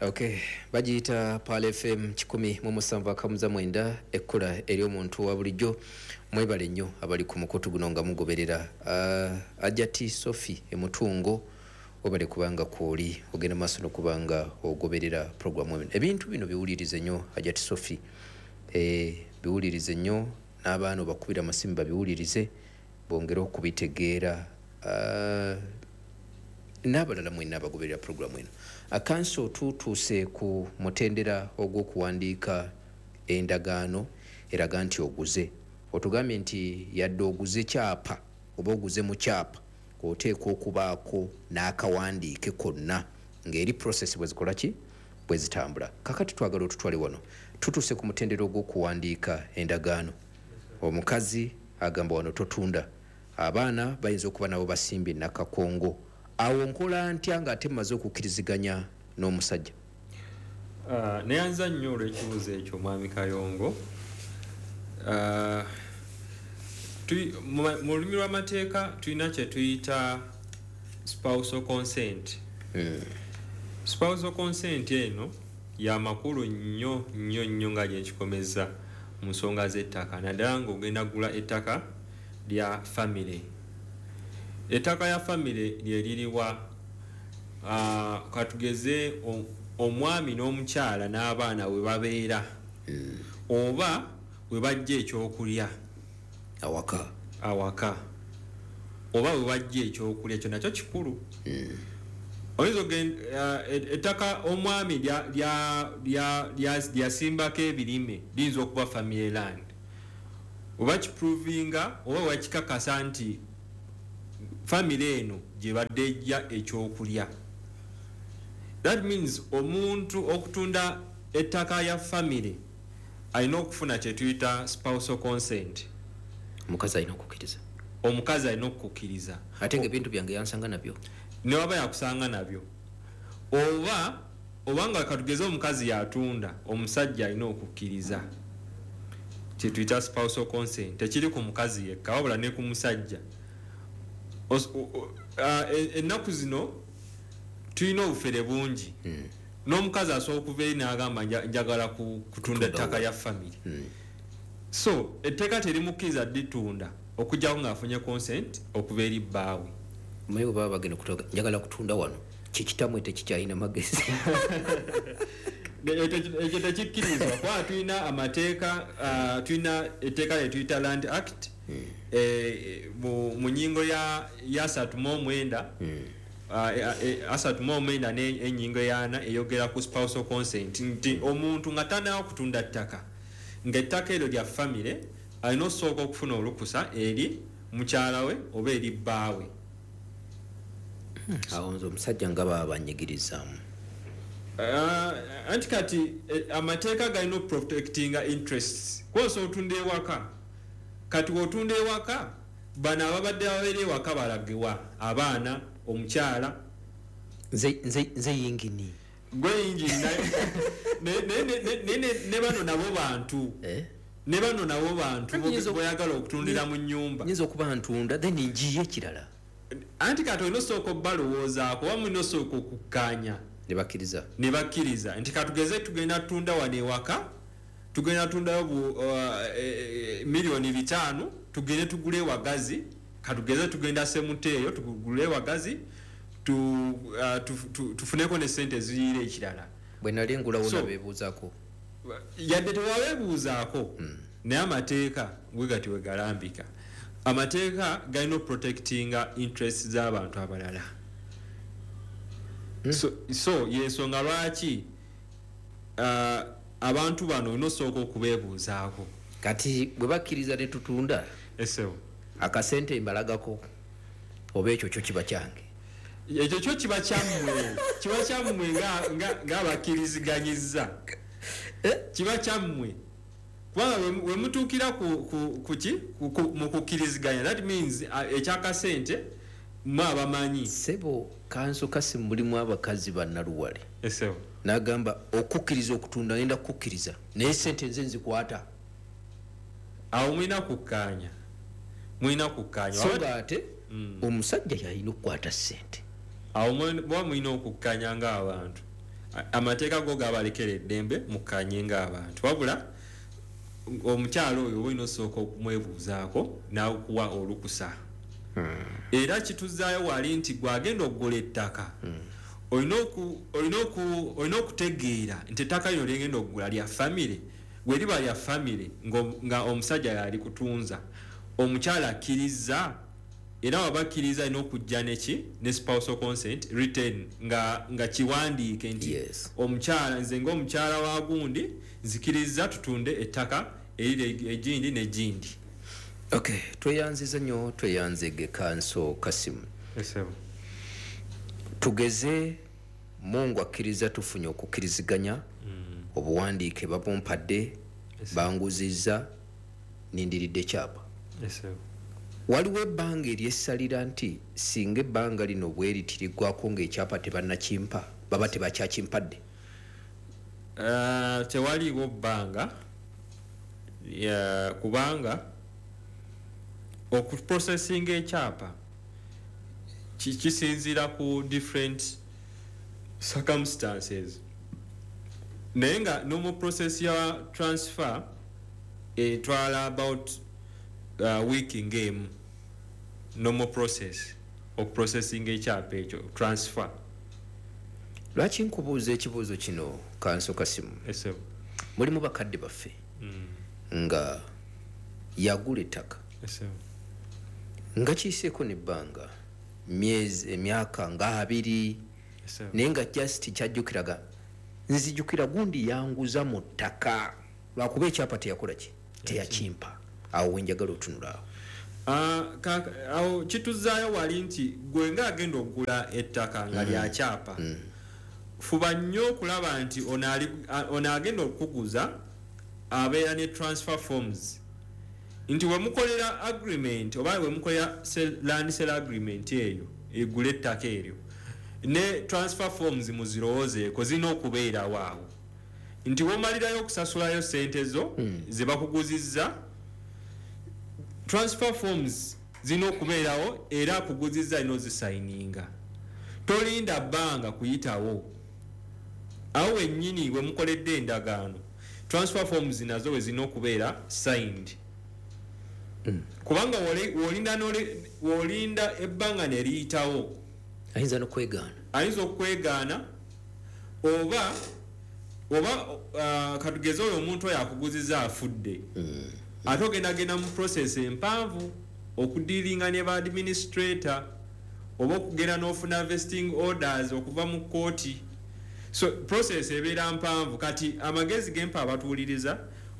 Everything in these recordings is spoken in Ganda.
Okay, bagiyita Pearl FM 107.9, ekkula eri omuntu wa bulijjo. Mwebale nnyo abali ku mukutu guno nga mugoberera. Ajati Sophie Emutungo, webale kubanga kwoli ogenda maaso nokubanga ogoberera programu eno. Ebintu bino biwulirize nnyo, Ajati Sophie, biwulirize nnyo, n'abaana obakubira amasimu babiwulirize bongere okubitegeera, n'abalala mwenna abagoberera programu eno. Akanso, tutuuse ku mutendera ogw'okuwandiika endagaano eraga nti oguze. Otugambye nti yadde oguze kyapa oba oguze mu kyapa, oteekwa okubaako n'akawandiike konna ng'eri process bwe zikola ki, bwe zitambula. Kakati twagala otutwale wano, tutuuse ku mutendera ogw'okuwandiika endagaano. Omukazi agamba wano totunda, abaana bayinza okuba nabo basimbye nakakongo. Awo nkola ntya ng'ate mmaze okukkiriziganya n'omusajja? Neyanza nnyo olw'ekibuuzo ekyo, Mwami Kayongo. Ah, mu lulimi lw'amateeka tulina kye tuyita spousal consent. Spousal consent eno ya makulu nnyo nnyo nnyo nga gyenkikomeza mu nsonga z'ettaka, naddala ng'ogenda kugula ettaka lya famire. Ettaka lya famire lye liriwa? Katugeze omwami n'omukyala n'abaana we babeera oba we bajja ekyokulya awaka. Awaka oba we bajja ekyokulya, ekyo nakyo kikulu. Oyinza ettaka omwami lyasimbako ebirime liyinza okuba family land, oba kiprovinga oba wakikakasa nti family eno gye badde ejja ekyokulya. That means omuntu okutunda ettaka ya family alina okufuna kyetuyita spousal consent. Omukazi alina okukkiriza. Omukazi alina okukkiriza. Ate nga ebintu byange yansanga nabyo. Newaba yakusanga nabyo oba nga katugeze omukazi yatunda, omusajja alina okukkiriza, kyetuyita spousal consent. Tekiri ku mukazi yekka wabula ne ku musajja. Ennaku zino tulina obufere bungi. N'omukazi asobola okuva eri n'agamba, "Njagala kutunda ettaka lya family." So etteeka terimukkiriza ditunda okujjako ng'afunye consent okuva eri bbaawe. Omanyi bwe baba bagenda kutoga, "Njagala kutunda wano," kikitamwe tekikyalina magezi. Ekyo tekikkirizibwa kubanga tulina amateeka, tulina etteeka lyetuyita Land Act, mu nyingo ya 39, 39 n'enyingo yana eyogera ku spousal consent, nti omuntu nga tanawa kutunda ttaka, ng'ettaka eryo lya famire, alina okusooka okufuna olukusa eri mukyala we oba eri bbaawe. Awo nze omusajja nga baba banyigirizaamu. Anti kati amateeka galina okuprotectinga interests. Kwosa otunda ewaka, kati wotunda ewaka, bano ababadde babeera ewaka balagewa? Abaana, omukyala. Nze yingini. Gwe yingini, ne bano nabo bantu. Eh? Ne bano nabo bantu Nyinza boyagala okutundira mu nyumba. Nyinza okuba ntunda, then njiye ekirala. Anti kati olina osooka obbalowoozaako oba mulina osooka okukkaanya. Ne bakkiriza. Ne bakkiriza nti katugeze tugenda tunda wano ewaka, tugenda tundayo 5 miliyoni, tugende tugule ewagazi. Katugeze tugenda Semuteeyo, tugule ewagazi, tufuneko ne sente eziyiira ekirala. Bwe nali ngulawo nabeebuuzaako? Yadde tewabeebuuzaako, naye amateeka bwe gati we galambika. Amateeka galina oprotectinga interest z'abantu abalala. So yensonga lwaki abantu bano olina osooka okubeebuuzaako. Kati bwe bakkiriza ne tutunda, Esebo. akasente mbalagako oba ekyo kyo kiba kyange? Ekyo kyo kiba kyammwe, kiba kyammwe ng'abakkiriziganyiza, kiba kyammwe kubanga we mutuukira ku ki mu kukkiriziganya, that means ekyakasente mwe abamanyi. Sebo kanso kasi, mulimu abakazi bannaluwale. Esebo. N'agamba, "Okukkiriza okutunda ngenda kukukkiriza, naye sente nze nzikwata." Awo mulina kukkaanya, mulina kukkaanya. So nga ate omusajja yalina okukwata sente. Awo muba mulina okukkaanya ng'abantu. Amateeka go gabalekera eddembe mukkanye ng'abantu, wabula omukyalo oyo olina osooka okumwebuuzaako n'akuwa olukusa. Era kituzaayo wali nti gwagenda okugula ettaka, olina okutegeera nti ettaka lino lyengenda okugula lya famire. Bwe liba lya famire nga omusajja yali kutunza, omukyala akkiriza, era waba akkiriza alina okujja neki ne spousal consent written nga kiwandiike nti omukyala, nze ng'omukyala wa gundi nzikiriza tutunde ettaka eriri egindi n'egindi. Okay, tweyanziza nnyo, tweyanzege Kanso Kasimu. Tugeze Mungu akkiriza tufunye okukkiriziganya, obuwandiike babumpadde, banguzizza, nindiridde kyapa. Waliwo ebbanga eryessalira nti singa ebbanga lino bweritiriggwako ng'ekyapa tebannakimpa, baba tebakyakimpadde? Tewaliiwo bbanga, kubanga okuprocessinga ekyapa kisinziira ku different circumstances, naye nga normal process ya transfer etwala about week ng'emu, normal process okuprocessinga ekyapa ekyo transfer. Lwaki nkubuuza ekibuuzo kino, Kanso Kasimu? Mulimu bakadde baffe nga yagula ettaka nga kiyiseeko nebbanga myezi, emyaka nga 2, naye nga just kyajjukiraga, nzijukira gundi yanguza mu ttaka, lwakuba ekyapa teyakola ki, teyakimpa. Awo wenjagala otunula awo. Awo kituzaayo wali nti gwe nga agenda okugula ettaka nga lya kyapa, fuba nnyo okulaba nti ono agenda okukuguza abeera ne transfer forms, nti wemukolera agreement oba wemukolera land sale agreement eyo egula ettaka eryo, ne transfer forms muzirowoozeeko, zirina okubeerawo awo nti womalirayo okusasulayo sente zo ze bakuguzizza, transfer forms zirina okubeerawo era akuguzizza alina ozisayininga. Tolinda bbanga kuyitawo, awo wennyini we mukoledde endagaano transfer forms nazo we zirina okubeera signed. Kubanga wolinda ebbanga ne liyitawo, ayinza n'okwegaana, ayinza okwegaana oba katugeze oyo omuntu oyo akuguziza afudde, ate ogenda mu process empanvu okudealinga ne ba administrator oba okugenda n'ofuna vesting orders okuva mu kkooti. So process ebeera mpanvu. Kati amagezi gempa abatuwuliriza,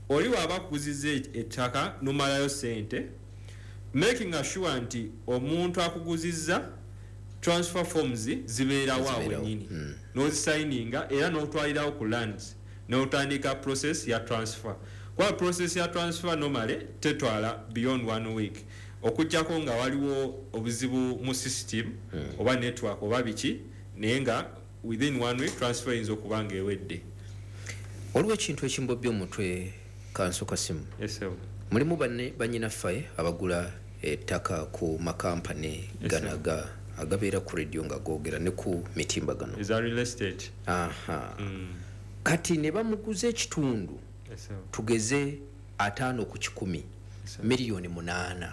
oli waba akuguziza ettaka nomalayo sente, making sure nti omuntu akuguzizza transfer forms zibeerawo awo wennyini, n'ozisayininga era n'otwalirawo ku lands n'otandika process ya transfer. Kuba process ya transfer normally tetwala beyond 1 week, okuggyako nga waliwo obuzibu mu system oba network oba biki, naye nga within 1 week transfer eyinza okuba nga ewedde. Waliwo ekintu ekimbobya omutwe, Kanso Kasimu. Mulimu bannyinaffe abagula ettaka ku makampani ganaga agabeera ku radio nga googera ne ku mitimbagano eza real estate. Kati ne bamuguza ekitundu tugeze 5 ku 100, miliyoni 8.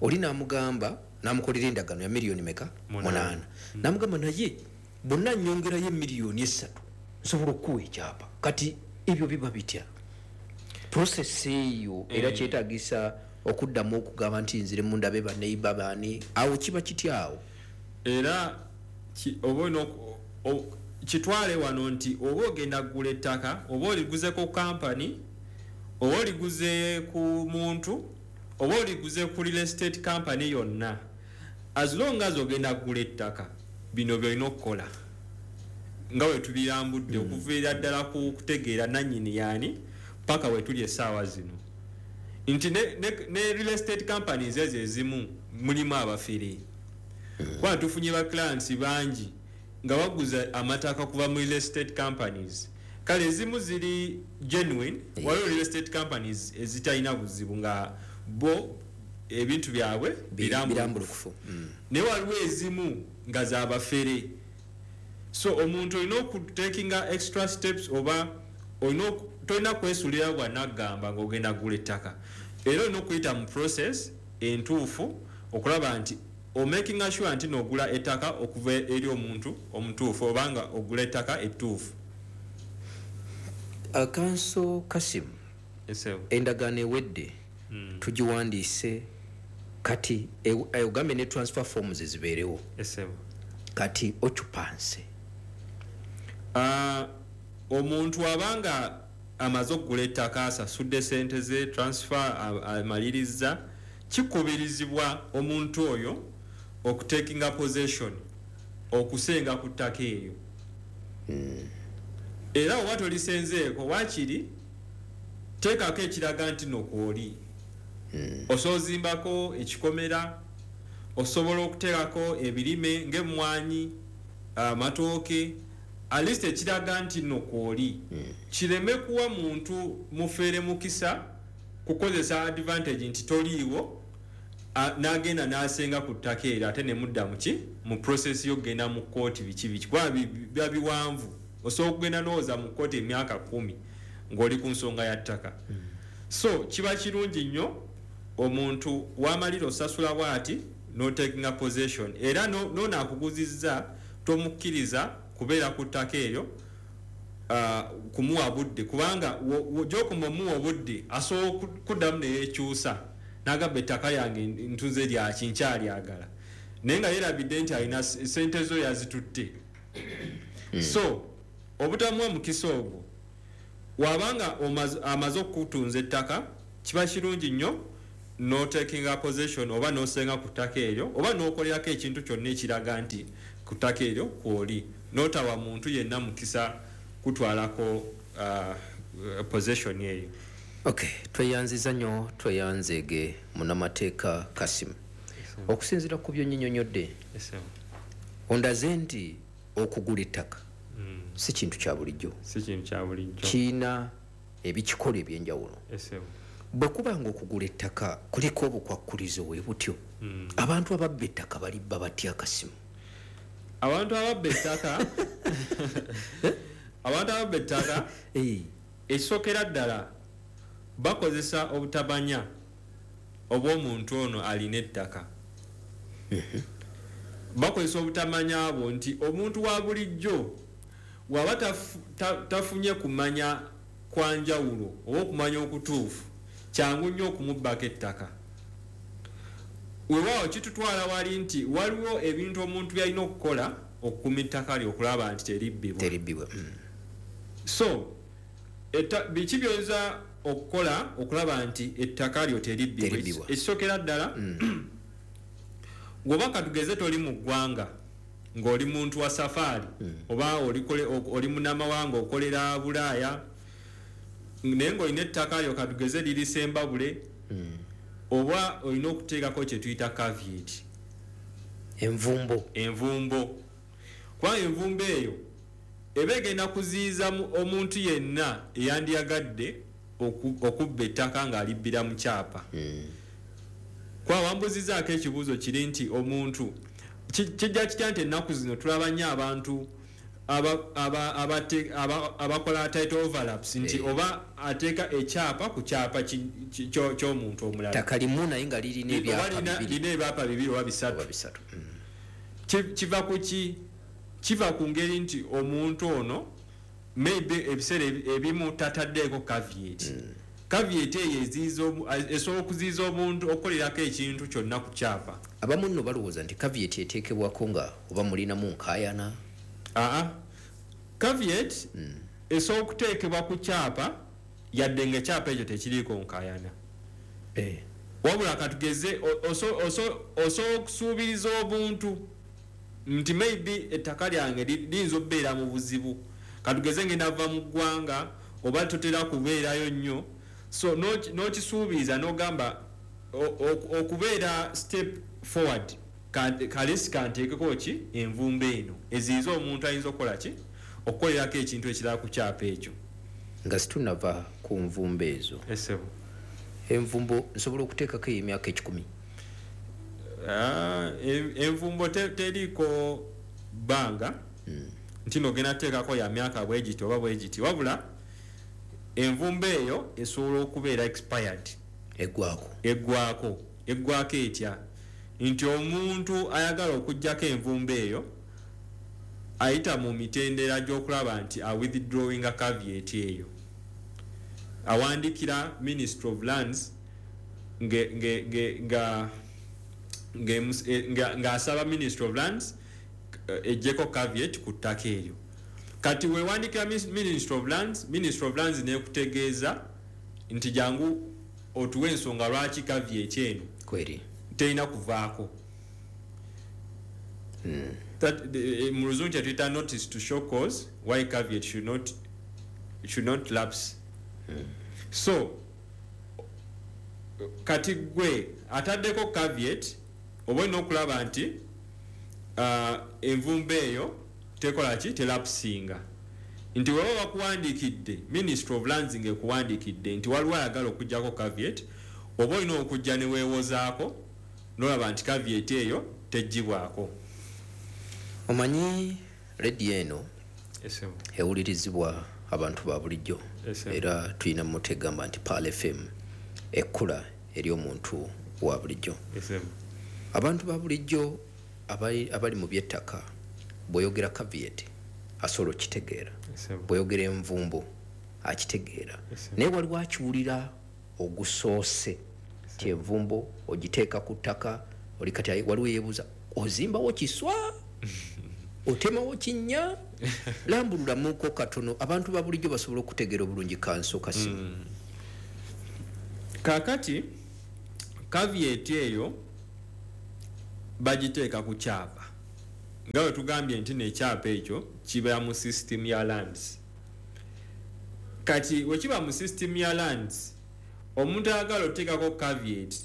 Oli n'amugamba, n'amukolera endagaano ya miliyoni meka? 8. N'amugamba naye bonna nnyongerayo miliyoni 3 nsobola okukuwa ekyapa. Kati ebyo biba bitya? Process eyo era kyetaagisa okuddamu okugamba nti nzire mundabe baneiba baani, awo kiba kitya awo? Era oba kitwale wano nti oba ogenda kugula ettaka, oba oliguze ku kampani, oba oliguze ku muntu, oba oliguze ku real estate company yonna, as long as ogenda kugula ettaka, bino byolina okukola nga we tubirambudde okuviira ddala ku kutegeera nannyini yaani paka we tuli essaawa zino, nti ne real estate companies ezo ezimu mulimu abafere. Kuba tufunye ba clients bangi nga baguza amataka kuva mu real estate companies. Kale ezimu ziri genuine, waliwo real estate companies ezitalina buzibu nga bo ebintu byabwe birambulukufu, naye waliwo ezimu nga zabafere. So omuntu olina okutakinga extra steps, oba tolina kwesulira bwanagamba ngaogenda kugula ettaka, era olina okuyita mu process entuufu okulaba nti omakinga sure nti nogula ettaka okuva eri omuntu omutuufu, obanga ogula ettaka ettuufu. Counsel Kasim, endagaano ewedde, tugiwandiise kati, ogambye ne transfer forms zibeerewo. Kati occupancy? Omuntu abanga amaze okugula ettaka, asasudde sente ze, transfer amaliriza, kikubirizibwa omuntu oyo okutakinga possession, okusenga ku ttaka eryo. Era oba tolisenzeeko, waakiri teekako ekiraga nti no kwoli. Osobola ozimbako ekikomera, osobola okuteekako ebirime ng'emmwanyi, amatooke, at least ekiraga nti nno kwoli, kireme kuwa muntu mufeere mukisa kukozesa advantage nti toliiwo, n'agenda n'asenga ku ttaka eryo, ate ne mudda muki mu process y'okugenda mu kkooti, biki biki, kuba biba biwanvu. Osobola okugenda n'owooza mu kkooti emyaka 10 ng'oli ku nsonga ya ttaka. So kiba kirungi nnyo omuntu wamalira osasula bw'ati n'otakinga possession, era noono akuguzizza tomukkiriza kubeera ku ttaka eryo, kumuwa budde, kubanga gy'okoma omuwa obudde asobola kuddamu neyekyusa n'agamba ettaka lyange ntunze lyaki, nkyalyagala, naye nga yeerabidde nti alina sente zo yazitutte. So obutamuwa mukisa ogwo, wabanga amaze okutunza ettaka, kiba kirungi nnyo notakinga possession, oba nosenga ku ttaka eryo, oba nokolerako ekintu kyonna ekiraga nti ku ttaka eryo kwoli, notawa muntu yenna mukisa kutwalako possession eyo. Okay, tweyanziza nnyo, tweyanzeege munnamateeka Kasim. Okusinziira ku byonnyinyonnyodde, ondaze nti okugula ettaka si kintu kya bulijjo. Si kintu kya bulijjo. Kiina ebikikola ebyenjawulo. Bwe kuba nga okugula ettaka kuliko obukwakkulizo bwe butyo, abantu ababba ettaka balibba batya, Kasimu? Abantu ababba ettaka, abantu ababba ettaka, ekisookera ddala bakozesa obutabanya obw'omuntu ono alina ettaka. Bakozesa obutamanya bwo nti omuntu wa bulijjo waba tafunye kumanya kwa njawulo oba okumanya okutuufu, kyangu nnyo okumubbako ettaka. Weewaawo kitutwala wali nti waliwo ebintu omuntu by'alina okukola okukuuma ettaka lye okulaba nti teribbibwa. Teribbibwa. So biki by'oyinza okukola okulaba nti ettaka lyo teribbibwa? Teribbibwa. Ekisookera ddala, bw'oba katugeze toli mu ggwanga, ng'oli muntu wa safaari, oba oli munnamawanga okolera Bulaaya, naye ng'olina ettaka lyo katugeze liri Sembabule, oba olina okuteekako kye tuyita caveat. Envumbo. Envumbo, kubanga envumbo eyo eba egenda kuziyiza omuntu yenna eyandiyagadde okubba ettaka ng'alibbira mu kyapa. Kuba wambuzizaako ekibuuzo kiri nti omuntu kijja kitya nti ennaku zino tulaba nnyo abantu abakola title overlaps, nti oba ateeka ekyapa ku kyapa ky'omuntu omulala. Ttaka limu naye nga lirina ebyapa bibiri. Lirina ebyapa bibiri oba bisatu. Oba bisatu. Kiva ku ki? Kiva ku ngeri nti omuntu ono maybe ebiseera ebimu tataddeeko caveat. Caveat eyo esobola okuziyiza omuntu okukolerako ekintu kyonna ku kyapa. Abamu nno balowooza nti caveat eteekebwako nga oba mulinamu nkaayana. Aa, caveat esobola okuteekebwa ku kyapa yadde nga ekyapa ekyo tekiriiko nkaayana. Wabula katugeze osobola okusuubiriza obuntu nti maybe ettaka lyange liyinza okubeera mu buzibu, katugeze ngenda va mu ggwanga oba totera kubeerayo nnyo, so n'okisuubiriza n'ogamba okubeera step forward, kalesi kanteekeko ki envumbo eno eziyiza omuntu ayinza okukola ki okukolerako ekintu ekirala ku kyapa ekyo. Nga situnava ku nvumbo ezo, envumbo nsobola okuteekako ey'emyaka 100? Envumbo teriiko bbanga, Nti nogenda teekako ya myaka bwegiti oba bwegiti, wabula envumbo eyo esobola okubeera expired, eggwako. Eggwako etya? Nti omuntu ayagala okuggyako envumbo eyo ayita mu mitendera gy'okulaba nti a withdrawing caveat eyo, awandikira Ministry of Lands ng'asaba Ministry of Lands ejjeko caveat ku ttaka eryo. Kati wewandikira Ministry of Lands, Ministry of Lands nekutegeeza nti jangu otuwe ensonga lwaki caveat eno kweri terina kuvaako. Mu Luzungu kyetuyita notice to show cause why caveat should not lapse. So kati gwe ataddeko caveat oba olina okulaba nti envumbo eyo tekola ki, telapsinga. Nti weba bakuwandiikidde, Ministry of Lands ng'ekuwandiikidde nti waliwo ayagala okugjako caveat, oba olina okujja ne weewozaako nolaba nti caveat eyo teggibwako. Omanyi rediyo eno ewulirizibwa abantu ba bulijjo, era tulina motto egamba nti Pearl FM ekkula eri omuntu wa bulijjo. Abantu ba bulijjo abali mu byettaka, bw'oyogera caveat asobola okitegeera, bw'oyogera envumbo akitegeera, naye waliwo akiwulira ogusoose ti envumbo ogiteeka ku ttaka oli kati waliwo yeebuuza, ozimbawo kiswa, otemawo kinnya? Lambululamuko katono abantu ba bulijjo basobola okutegeera obulungi, Kanso Kasimu. Kakati caveat eyo bagiteeka ku kyapa, nga bwe tugambye nti nekyapa ekyo kiba mu system ya lands. Kati wekiba mu system ya lands, omuntu ayagala oteekako caveat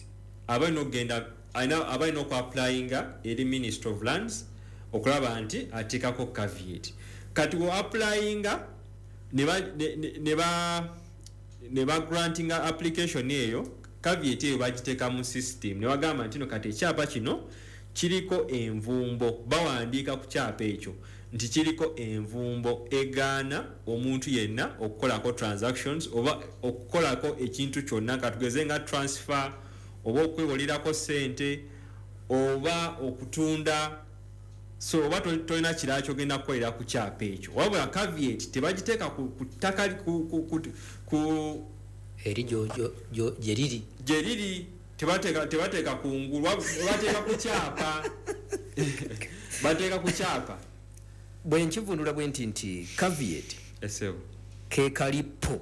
aba alina okugenda, aba alina okuapplyinga eri Ministry of Lands okulaba nti ateekako caveat. Kati we applyinga ne ba grantinga application eyo, caveat eyo bagiteeka mu system ne bagamba nti no kati ekyapa kino kiriko envumbo. Bawandiika ku kyapa ekyo nti kiriko envumbo egaana omuntu yenna okukolako transactions oba okukolako ekintu kyonna, katugeze nga transfer oba okwewolerako sente oba okutunda. So oba tolina kirala kyogenda kukolera ku kyapa ekyo, wabula caveat tebagiteeka ku ttaka ku eri gye riri. Gye riri. Tebateeka ku ngulu, bateeka ku kyapa, bateeka ku kyapa. Bwe nkivundula bwe nti caveat Esebo. ke kalipo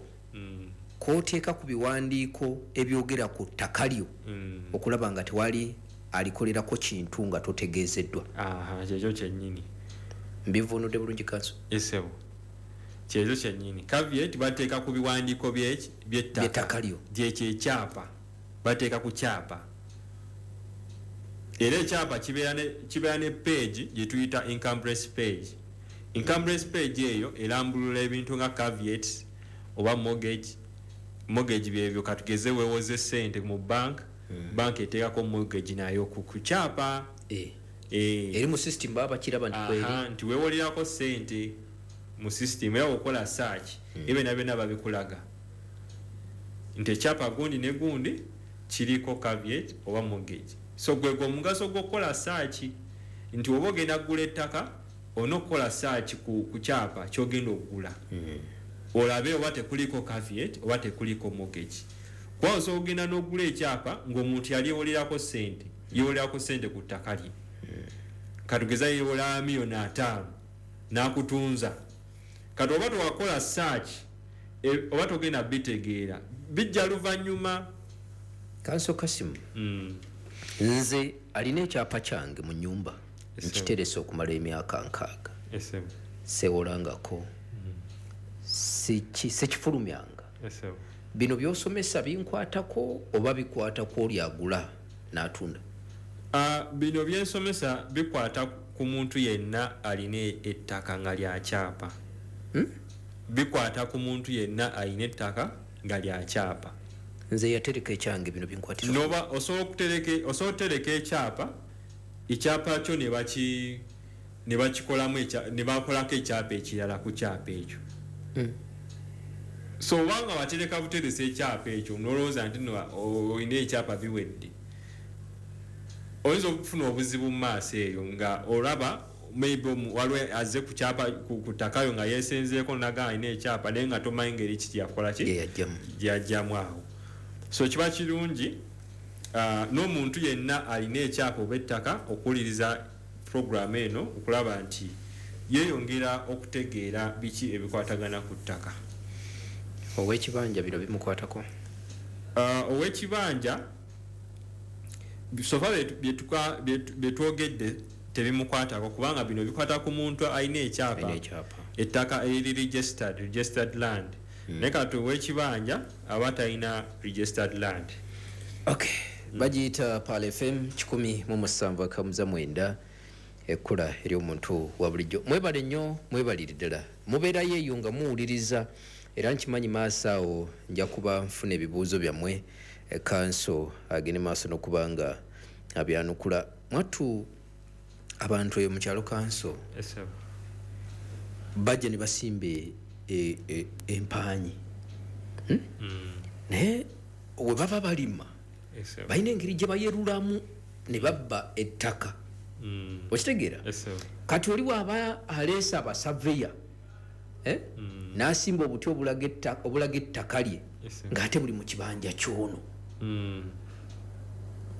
k'oteeka ku biwandiiko ebyogera ku ttaka lyo okulaba nga tewali alikolerako kintu nga totegeezeddwa. Aha, kyekyo kyennyini. Mbivunudde bulungi, Kanso? Esebo, kyekyo kyennyini. Caveat bateeka ku biwandiiko by'ettaka by'ettaka lyo. Gyekyo ekyapa, bateeka ku kyapa, era ekyapa kibeera ne page gye tuyita encumbrance page. Encumbrance page eyo erambulula ebintu nga caveats oba mortgage. Mortgage byebyo, katugeze weewoze sente mu bank, bank eteekako mortgage nayo ku kyapa. Eri mu system baba bakiraba nti kweri. Aha, nti weewolerako sente mu system, era okola search, ebyo byonna byonna babikulaga nti ekyapa gundi ne gundi kiriko caveat oba mortgage. So gwegwe omugaso gw'okukola search, nti oba ogenda kugula ettaka olina okukola search ku kyapa kyogenda okugula, olabe oba tekuliko caveat oba tekuliko mortgage, kuba osobola okugenda n'ogula ekyapa ng'omuntu yali yewolerako sente, yewolerako sente ku ttaka lye, katugeza yewola 500,000 n'akutunza. Kati oba towakola search, oba togenda bitegeera, bijja luvannyuma. Kanso Kasimu, nze alina ekyapa kyange mu nyumba, nkiterese okumala emyaka 60, sewolangako, sikifulumyanga. Bino byosomesa binkwatako oba bikwatako oli agula n'atunda? Ah, bino byensomesa bikwata ku muntu yenna alina ettaka nga lyakyapa. Bikwata ku muntu yenna alina ettaka nga lyakyapa. Nze yatereka ekyange, bino binkwatira? Noba osobola okutereka, osobola okutereka ekyapa, ekyapa kyo ne baki Ne bakikolamu ne bakolako ekyapa ekirala ku kyapa ekyo. So obanga watereka buterese ekyapa ekyo nolowooza nti no olina ekyapa biwedde, oyinza okufuna obuzibu mu maaso eyo nga olaba maybe waliwo azze ku kyapa ku ttakayo nga yeesenzeeko naga alina ekyapa, naye nga tomanyi ngeri ki gyakola ki gyeyajjamu awo. So kiba kirungi n'omuntu yenna alina ekyapa oba ettaka okuwuliriza program eno okulaba nti yeeyongera okutegeera biki ebikwatagana ku ttaka. Ow'ekibanja bino bimukwatako? Ow'ekibanja so far byetwogedde tebimukwatako, kubanga bino bikwata ku muntu alina ekyapa, ettaka eriri registered land. Naye kati ow'ekibanja aba talina registered land. Okay, bagiyita Pearl FM 107.9, ekkula ery'omuntu wa bulijjo. Mwebale nnyo, mwebalire ddala, mubeerayo eyo nga muwuliriza, era nkimanyi maaso awo nja kuba nfuna ebibuuzo byammwe, kanso agende maaso n'okuba nga abyanukula. Mwattu abantu eyo mu kyalo kanso bajja ne basimba empaanyi, naye we baba balima balina engeri gye bayerulamu ne babba ettaka. Okitegeera? Kati oli bw'aba aleese abasaveya n'asimba obuti obulaga ettaka lye ng'ate buli mu kibanja kyono,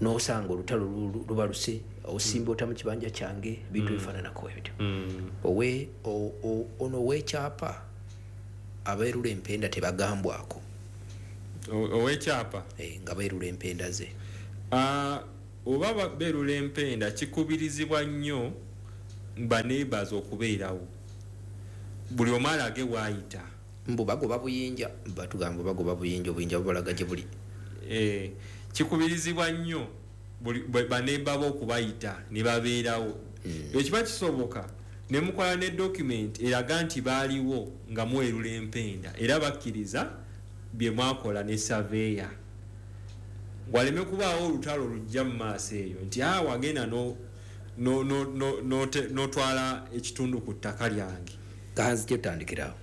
n'osanga olutalo lubaluse, osimba ota mu kibanja kyange, ebintu ebifaananako ebityo. Ono ow'ekyapa abeerula empenda tebagambwako. Ow'ekyapa nga beerula empenda ze, oba beerula empenda kikubirizibwa nnyo baneighbors okubeerawo, buli omu alage waayita. Mbu bagoba buyinja, batugamba bagoba buyinja, obuyinja bubalaga gye buli. Kikubirizibwa nnyo baneighbor bo okubayita ne babeerawo. Ekiba kisoboka ne mukola ne document eraga nti baaliwo nga mwerula empenda, era bakkiriza bye mwakola ne surveyor, waleme kubaawo olutalo lujja mu maaso eyo nti wagenda n'otwala ekitundu ku ttaka lyange. Kanzije tutandikirawo.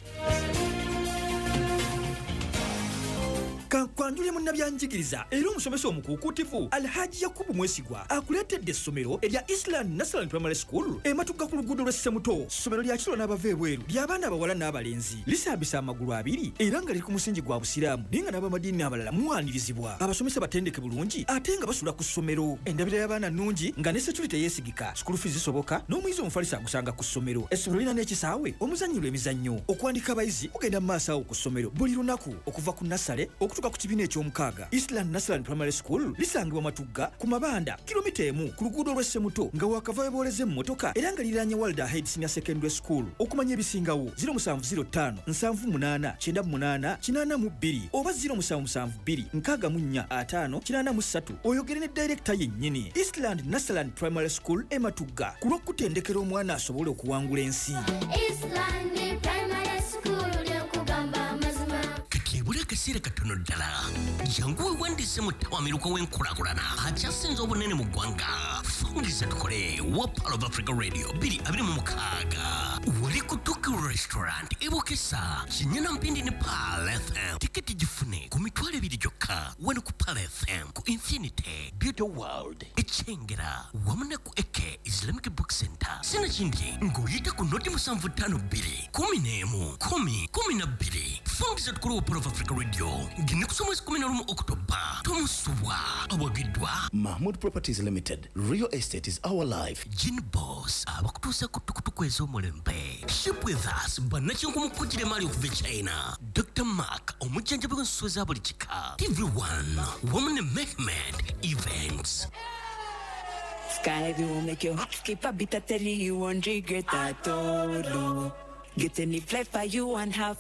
Kankwanjule munnabyanjigiriza era omusomesa omukuukuutivu Alhaji Yakubu Mwesigwa akuleetedde essomero erya Island National Primary School ematuga ku luguudo lw'e Ssemuto. Ssomero lya kiro n'abava ebweru ly'abaana abawala n'abalenzi, lisambisa amagulu abiri era nga liri ku musingi gwa Busiraamu, naye nga n'abamadiini abalala muwanirizibwa. Abasomesa batendeke bulungi ate nga basula ku ssomero. Endabira y'abaana nnungi nga ne security yeesigika, school fees zisoboka n'omuyizi omufalisa agusanga ku ssomero. Essomero lirina n'ekisaawe omuzannyirwa emizannyo. Okuwandika abayizi kugenda mu maaso awo ku ssomero buli lunaku okuva ku nasale okutuuka ku kibiina eky'omukaaga. Island National Primary School lisangibwa Matugga ku Mabanda, kilomita 1 ku luguudo lw'e Ssemuto nga wakava webooleza emmotoka, era nga liriraanye Walda Head Senior Secondary School. Okumanya ebisingawo 0705 78 98 82 oba 0772 64 5 83 oyogere ne director yennyini. Island National Primary School e Matugga ku lw'okutendekera omwana asobole okuwangula ensi. Island Primary School lyokugamba amazima. Kati akaseera katono ddala, jangu weewandiise mu ttawamiruka w'enkulaakulana akyasinze obunene mu ggwanga. Fungiza tukole wa Pearl of Africa Radio 2026 wali ku Tokyo Restaurant ebukesa Kinyana Mpindi ne Pearl FM. Tiketi gifune ku 20,000 gyokka wano ku Pearl FM, ku Infinity Beauty World Ekyengera wamu ne ku Eke Islamic Book Center. Sinakindi ng'oyita ku noti 752 11 10 12. Fungiza tukole wa Pearl of Africa Radio ng'ennaku z'omwezi 11 October. Tomusubwa awagiddwa Mahmood Properties Limited. Real estate is our life. Gin Boss abakutuusa ku tukutuku ez'omulembe. Ship with us bannakinku mu kugira emaali okuva e China. Dr. Mark omujjanjabi w'ensolo za buli kika. TV1 wamu ne Mehmed Events. Sky will make your heart skip a beat at 30, you won't regret that. Get any flight for you and have